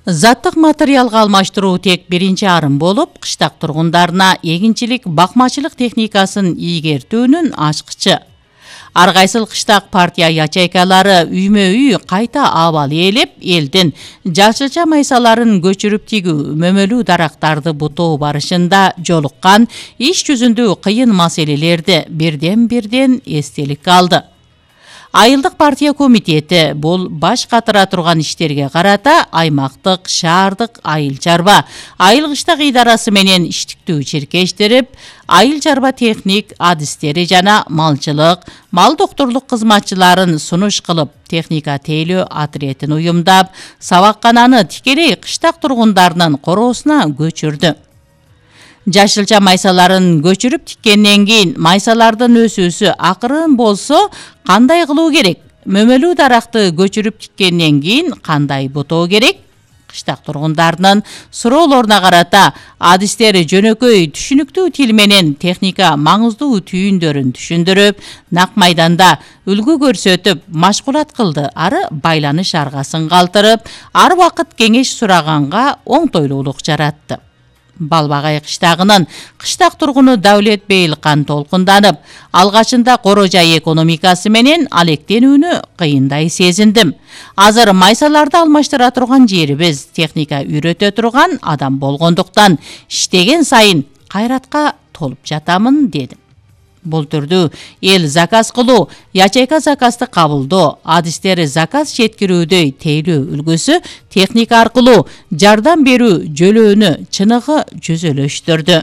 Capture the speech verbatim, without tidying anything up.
Заттык материалга алмаштыруу тек биринчи арым болуп, кыштак тургундарына эгинчилик, бакмачылык техникасын ийгертүүнүн ачкычы. Ар кайсыл кыштак партия ячейкалары үймө-үй кайта абал ээлеп, элдин жашылча майсаларын көчүрүп тигүү, мөмөлүү дарактарды бутоо барышында жолуккан иш жүзүндө кыйын маселелерди бирден-бирден эстеликке алды. Айылдык партия комитети бул баш катыра турган иштерге карата аймактык, шаардык айыл чарба, айыл кыштак идарасы менен иштиктүү чиркештирип, айыл чарба техник адистери жана малчылык, мал доктурлук кызматчыларын сунуш кылып, техника тейлөө отрядын уюмдап, сабаккананы тикелей кыштак тургундарынын короосуна көчүрдү. Жашылча майсаларын көчүрүп тиккенден кийин майсалардын өсүүсү акырын болсо кандай кылуу керек? Мөмөлүү даракты көчүрүп тиккенден кийин кандай бутоо керек? Кыштак тургундарынын суроолоруна карата адистери жөнөкөй түшүнүктүү тил менен техника маңыздуу түйүндөрүн түшүндүрүп, нак майданда үлгү көрсөтүп, машгулат кылды, ары байланыш аргасын калтырып, ар убакыт кеңеш сураганга оңтойлуулук жаратты. Балбагай кыштагынын кыштак тургуну Даулет Бейлкан толкунданып, алгачында коро жай экономикасы менен алектенүүнү кыйындай сезиндим. Азыр майсаларды алмаштыра турган жерибиз, техника үйрөтө турган адам болгондуктан иштеген сайын кайратка толуп жатамын, дедим. Бул түрдүү эл заказ кылуу, ячейка заказды кабылдоо, адистери заказ жеткирүүдөй тейлөө үлгүсү техника аркылуу жардам берүү жөлөөнү чыныгы жүзөлөштүрдү.